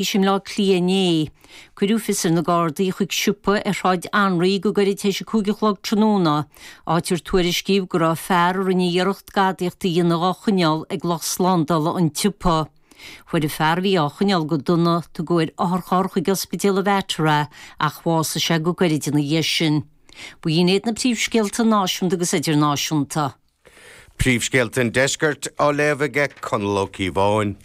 I mBleá Cliath inné. Cuireadh fios ar na Gardaí chuig siopa ar Shráid Anraí go gairid tar éis 5 a chlog tráthnóna, áit ar tuairiscíodh go raibh fear a rinne iarracht gadaíocht a dhéanamh á choinneáil ag lucht slándála an tsiopa. Fuair an fear a bhí á choinneáil go dona, tugadh ar otharcharr chuig Ospidéal an Mhater é ach bhásaigh sé go gairid ina dhiaidh sin. B'in iad na príomhscéalta náisiúnta agus idirnáisiúnta. Príomhscéalta an Deiscirt á léamh aige Conall Ó Cíobháin.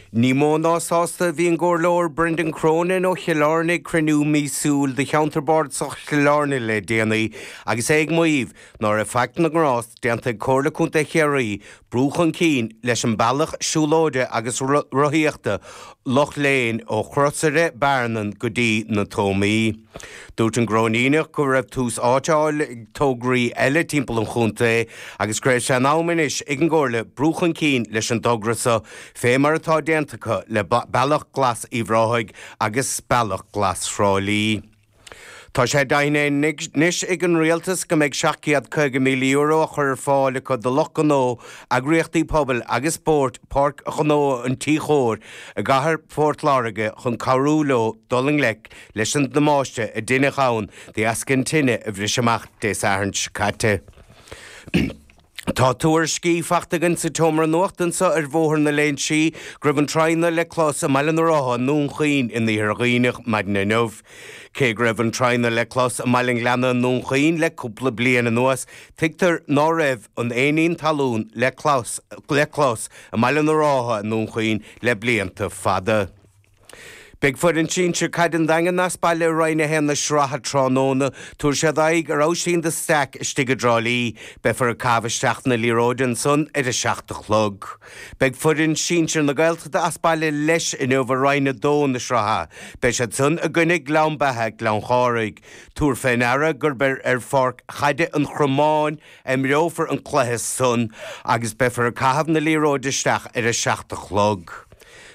Ní mó ná sásta a bhí an gComhairleoir Brendan Cronin ó Chill Airne ag cruinniú míosúil de Cheantar Bardasach Chill Airne le déanaí agus é ag maíomh ná raibh faic na ngrást déanta ag Comhairle Contae Chiarraí brú chun cinn leis an bealach siúlóide agus rothaíochta Loch Léin ó Chrosaire Bearnan go dtí na Tómaí. Dúirt an gCróiníneach go raibh tús áite á fháil ag tograí eile timpeall an chontae agus go raibh sé in am anois ag an gComhairle brú chun cinn leis an dtogra so fé mar atá déanta acu le Bealach Glas Uíbh Ráthaigh agus Bealach Glas Thrá Lí. Tá sé deimhnithe anois ag an Rialtas go mbeidh €750,000 á chur ar fáil acu do lucht gnó, eagraíochtaí pobail agus spóirt Páirc Ghnó an Tí Chóir i gcathair Phort Láirge chun cabhrú leo dul i ngleic leis an damáiste a deineadh ann de dheasca an tine a bhris amach Dé Sathairn seo caite. Tá tuairiscí fachta againn sa tseomra nuachta anseo ar Bhóthar na Léinsí go raibh an traidhneadh le clos i mBaile na Rátha i nDún Chaoin in Iarthar Dhuibhneach maidin inniu. Cé go raibh an traidhneadh le clos i mBaile an Ghleanna i nDún Chaoin le cúpla bliain anuas, tuigtear ná raibh an éinín talún le clos i mBaile na Rátha i nDún Chaoin le blianta fada. Beidh foireann sinsir caide an Daingin as baile i Roinn 1 na sraithe tráthnóna. Tabharfaidh siad aghaidh ar Oisín de Staic istigh i dTrá Lí. Beifear ag caitheamh isteach na liathróide ansan ar a 7 a chlog. Beidh foireann sinsir na Gaeltachta as baile leis inniu i Roinn 2 na sraithe. Beidh siad san i gcoinne Gleann Beatha, Gleann Chárthaigh. Tabhair fé ndeara gurb ar ar pháirc chaide an Chromáin a imreofar an cluiche san agus beifear ag caitheamh na liathróide isteach ar a 7 a chlog.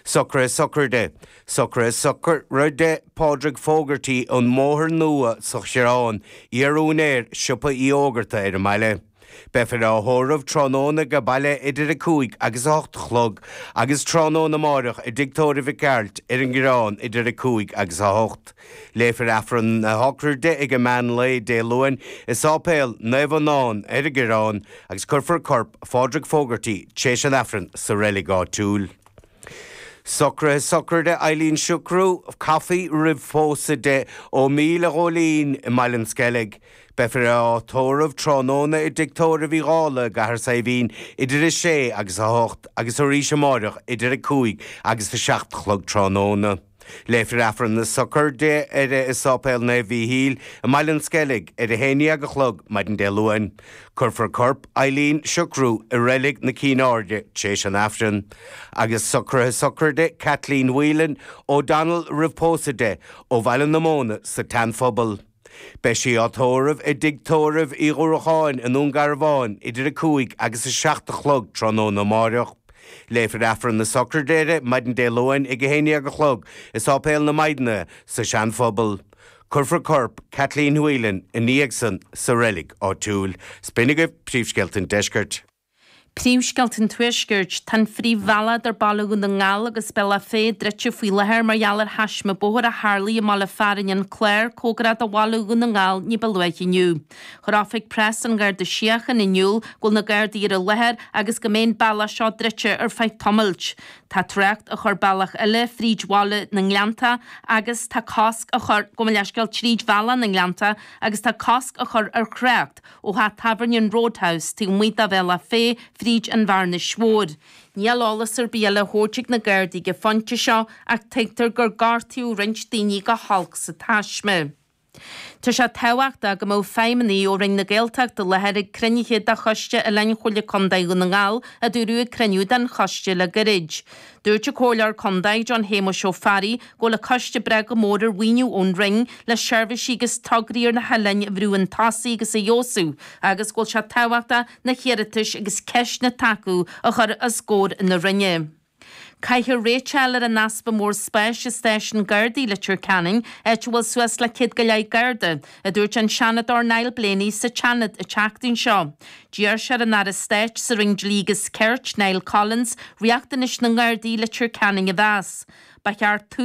Socruithe sochraide. Socruithe sochraide Pádraig Fogarty ón mBóthar Nua sa Choireán, iar-úinéir Siopa Uí Fhógarta ar an mbaile. Beifear á thórramh tráthnóna age baile idir 5 agus 8 a chlog agus tráthnóna amáireach i dTigh Tórraimh Mhic Gearailt ar an gCoireán idir 5 agus 8. Léifear Aifreann na sochraide ag an meán lae Dé Luain i Sáipéal Naomh Adhamhnán ar an gCoireán agus cuirfear corp Phádraig Fogarty tréis an Aifrinn sa reilig áitiúil. Socruithe sochraide Eileen Siochrú, caife roimh phósadh di, ó Míle Ghóilín i mBaile an Sceilg. Beifear á tórramh tráthnóna i dTigh Tórraimh Uí Dhálaigh i gCathair Saidhbhín idir 6 agus 8 agus arís amáireach idir 5 agus 7 a chlog tráthnóna. Léifear Aifreann na sochraide uirthi i Sáipéal Naomh Mhíchíl i mBaile an Sceilg ar a haon dhéag a chlog maidin Dé Luain. Cuirfear corp Eileen Siochrú i Reilig na Cinn Airde tréis an Aifrinn. Agus socruithe sochraide Kathleen Whelan O'Donnell roimh pósadh di, ó Bhaile na Móna sa tSeanphobal. Beidh sí á tórramh i dTigh Tórraimh Uí Dhúracháin i nDún Garbhán idir 5 agus 7 a chlog tráthnóna amáireach. Léifear Aifreann na sochraide uirthi maidin Dé Luain ag 11 a chlog i Sáipéal na Maighdine sa Seanphobal. Cuirfear corp Kathleen Whelan ina dhiaidh san sa reilig áitiúil. 'S b'in agaibh príomhscéalta an deiscirt. Príomhscéalta an Tuaiscirt. Tá an phríomhbhealach idir Baile Dhún na nGall agus Bealach Féich druidte faoi láthair mar gheall ar thaisme bóthair a tharlaigh i mbaile fearainn An Clár, cóngarach do Bhaile Dhún na nGall ní ba luaithe inniu. Chuir Oifig Preas an Gharda Síochána in iúl go bhfuil na Gardaí ar an láthair agus go mbeidh an bealach seo druidte ar feadh tamaill. Tá trácht á chur bealach eile fríd bhaile na nGleannta agus tá cosc á chur, gabh mo leithscéal, tríd Bhealach na nGleannta agus tá cosc á chur ar thrácht ó theach tábhairne an Roadhouse taobh amuigh de Bhealach Féich fríd an Bhearnais Mhór. Níl eolas ar bith eile á thabhairt ag na Gardaí ag an phointe seo ach tuigtear gur gortaíodh roinnt daoine go holc sa taisme. Tá sé tábhachtach go mbeadh feidhmeannaigh ó Roinn na Gaeltachta i láthair ag cruinnithe de Choiste Oileáin Chomhairle Contae Dhún na nGall, a dúradh ag cruinniú den choiste le gairid. Dúirt an Comhairleoir Contae, John Shéamuis Ó Fearraigh, go bhfuil an coiste ag brath go mór ar mhaoiniú ón Roinn le seirbhísí agus tograí ar na hoileáin a bhrú chun tosaigh agus a fheabhsú agus go bhfuil sé tábhachtach na hiarratais agus ceisteanna atá acu a chur os comhair na Roinne. Caithfear réiteach a fháil ar an easpa mór spáis i stáisiún Gardaí Leitir Ceanainn, áit a bhfuil suas le 100 go leith Garda, a dúirt an Seanadóir Niall Blaney sa tSeanad an tseachtain seo. D'iarr sé ar an Aire Stáit sa Roinn Dlí agus Cirt, Niall Collins, riachtanais na nGardaí i Leitir Ceanainn a mheas. Ba cheart tús.